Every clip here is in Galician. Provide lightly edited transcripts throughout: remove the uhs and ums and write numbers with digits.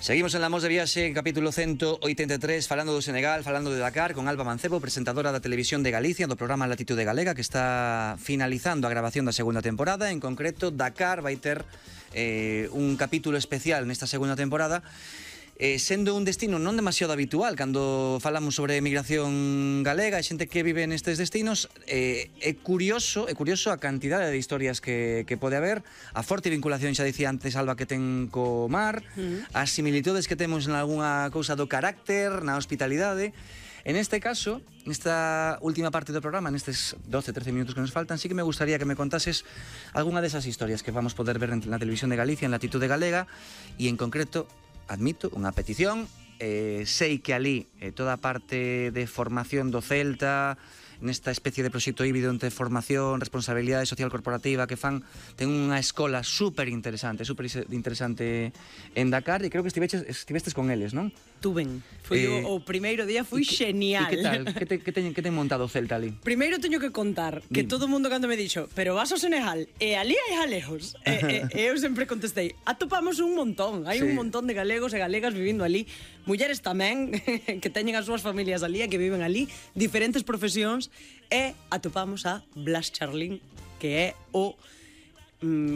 Seguimos en La Mos de Viaxe, capítulo 183, falando do Senegal, falando de Dakar, con Alba Mancebo, presentadora da Televisión de Galicia, do programa Latitude Galega, que está finalizando a grabación da segunda temporada. En concreto, Dakar vai ter un capítulo especial nesta segunda temporada, sendo un destino non demasiado habitual cando falamos sobre emigración galega e xente que vive nestes destinos. É curioso a cantidade de historias que pode haber, a forte vinculación, xa dicía antes Alba, que ten co mar, as similitudes que temos en algunha cousa do carácter, na hospitalidade. En este caso, nesta última parte do programa, nestes 12-13 minutos que nos faltan, sí que me gustaría que me contases algunha desas historias que vamos poder ver na Televisión de Galicia, en Latitude Galega, e en concreto, admito, unha petición. Sei que ali toda a parte de formación do Celta, nesta especie de proxecto híbrido entre formación, responsabilidade social corporativa que fan, ten unha escola super interesante en Dakar, e creo que estivestes con eles, non? Tuven. Foi o primeiro día, foi genial. E que tal? Que ten montado o Celta ali? Primeiro teño que contar que todo o mundo cando me dixo, pero vas ao Senegal e ali hai galegos. Eu sempre contestei, atopamos un montón, hai un montón de galegos e galegas vivindo ali, mulleres tamén que teñen as súas familias ali e que viven ali, diferentes profesións, e atopamos a Blas Charlín, que é o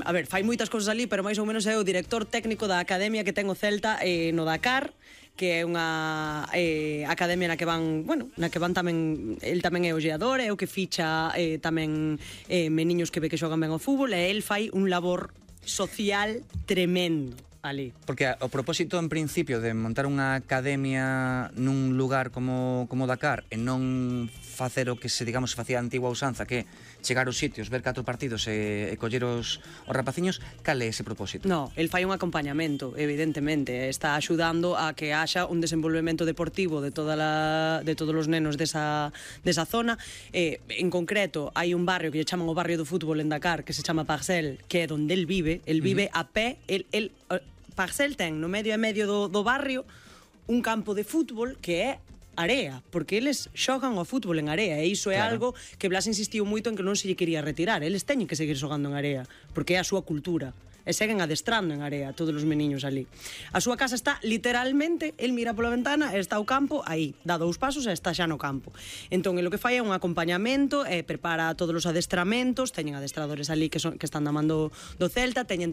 a ver, fai moitas cousas ali, pero máis ou menos é o director técnico da academia que ten o Celta no Dakar, que é unha academia na que van, bueno, na que van tamén, el tamén é o geador, é o que ficha tamén meniños que ve que xogan ben ao fútbol, e el fai un labor social tremendo ali. Porque o propósito en principio de montar unha academia nun lugar como Dakar e non facer o que se, digamos, facía a antigua usanza, que chegar aos sitios, ver 4 partidos e coller os rapaciños, cal é ese propósito? No, el fai un acompañamento, evidentemente, está axudando a que haxa un desenvolvemento deportivo de todos os nenos desa zona. En concreto, hai un barrio que lle chaman o barrio do fútbol en Dakar, que se chama Parcel, que é onde el vive a pé. Parcel ten no medio e medio do barrio un campo de fútbol que é area, porque eles xogan ao fútbol en area, e iso é algo que Blas insistiu moito en que non se lle quería retirar. Eles teñen que seguir xogando en area, porque é a súa cultura, e seguen adestrando en area todos os meniños ali. A súa casa está literalmente, el mira pola ventana e está o campo aí, dá 2 pasos e está xa no campo. Entón, o que fai é un acompañamento, prepara todos os adestramentos, teñen adestradores ali que están da man do Celta, teñen tamén